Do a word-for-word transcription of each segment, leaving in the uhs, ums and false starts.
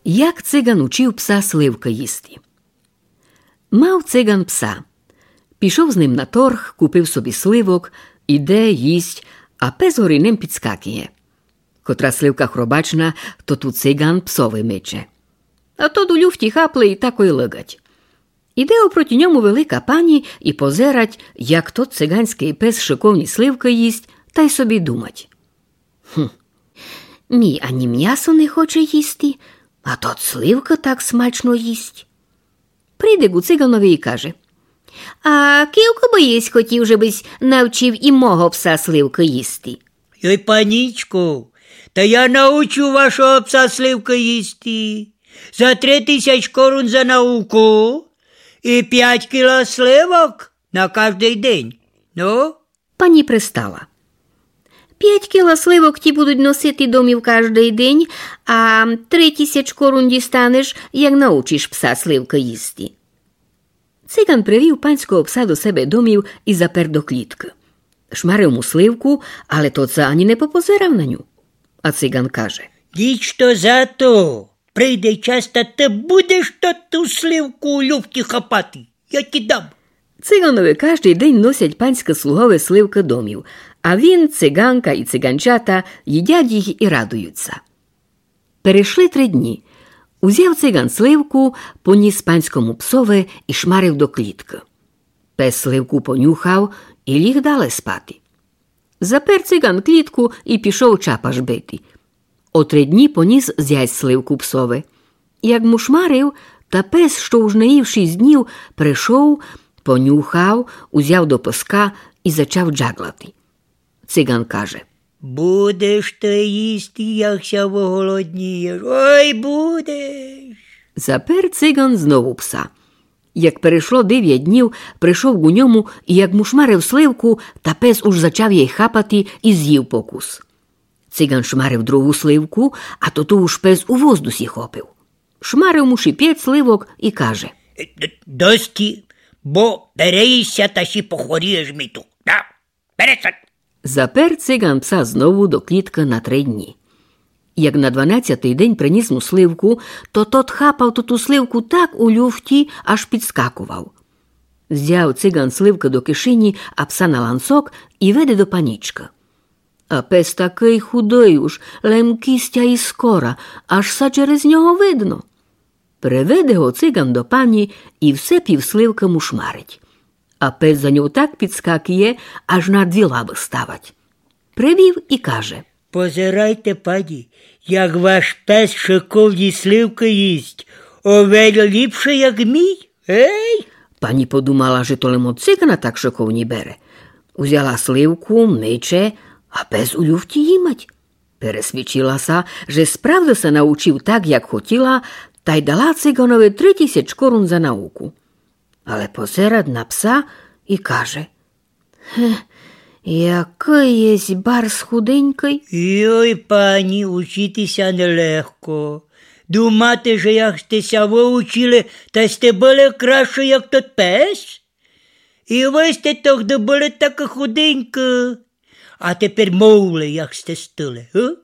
Як циган учив пса сливкы їсти. Мав циган пса. Пішов з ним на торг, купив собі сливок, іде, їсть, а пес горі ним підскакує. Котра сливка хробачна, то ту циган псови мече. А тот у люфті хапле і такой лыгать. Іде опроти ньому велика пані і позерать, як тот циганськый пес шыковні сливкы їсть, тай собі думать: «Гм, мій ані мнясо не хоче їсти, а тот сливкы так смачно їсть». Прийде ґу циганови і каже: «А кілько бы єсь хотів, же бысь навчив і мого пса сливкы їсти?» «Йой, панічко, та я научу вашого пса сливкы їсти. За три тисяч корун за науку і пять кіла сливок на каждый день. Ну?» Пані пристала. «Пять кіла сливок ті будуть носити домів каждый день, а три тисяч корун дістанеш, як научиш пса сливкы їсти». Циган привів панського пса до себе домів і запер до кліткы. Шмарив му сливку, але тот ся ані не попозерав на ню. А циган каже: «Ніч то за то, прийде час, та ты будеш ту, ту сливку у люфті хапати. Я ті дам». Циганови каждый день носять панськы слугови сливкы домів, а він, циганка і циганчата їдять їх і радують ся. Перешли три дні. Узяв циган сливку, поніс панському псови і шмарив до кліткы. Пес сливку понюхав і ліг дале спати. Запер циган клітку і пішов чапаш бити. О три дні поніс зясь сливку псови. Як му шмарив, та пес, што уж не їв шість днів, пришов, понюхав, узяв до пыска і зачав джаґлати. Циган каже: «Будеш ты їсти, як ся выголоднієш. Ой, будеш». Запер циган знову пса. Як перешло девять днів, пришов ґу ньому і як му шмарив сливку, та пес уж зачав єй хапати і зїв покус. Циган шмарив другу сливку, а тоту уж пес у воздусі хопив. Шмарив му ши пять сливок і каже: «Д-, дості, бо переїш ся та ши похворієш ми ту. Да, перестань». Запер циган пса знову до кліткы на три дні. Як на дванадцятый день приніс му сливку, то тот хапав тоту сливку так у люфті, аж підскаковав. Взяв циган сливкы до кишені, а пса на ланцок і веде до панічкы. А пес такый худый уж, лем кістя і скора, аж ся через нього видно. Приведе го циган до пані і все пів сливкы му шмарить. А пес за нього так підскакує, аж на дві лабы ставать. Привів і каже: «Позирайте, пані, як ваш пес шыковні сливкы їсть, овель ліпше, як мій. Гей?» Пані подумала, же то лем од цигана так шыковні бере. Узяла сливку, мече, а пес у люфті їмать. Пересвідчила ся, же справды ся научив так, як хотіла, тай дала циганови три тисяч корун за науку. Але позерать на пса і каже: «Гге, якый єсь барз худенькый». «Йой, пані, учити ся нелегко. Думати, же як сьте ся выучили, та сьте были кращы, як тот пес? І вы сьте тогды были такы худенькы. А тепер мовли, як сьте стыли, га?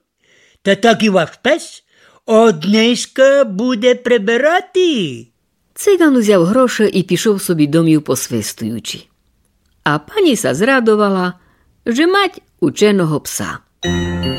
Та так і ваш пес од нынька буде прибирати». Циган узяв гроші і пішов собі домів, посвистуючи. А пані ся зрадовала, же мать ученого пса.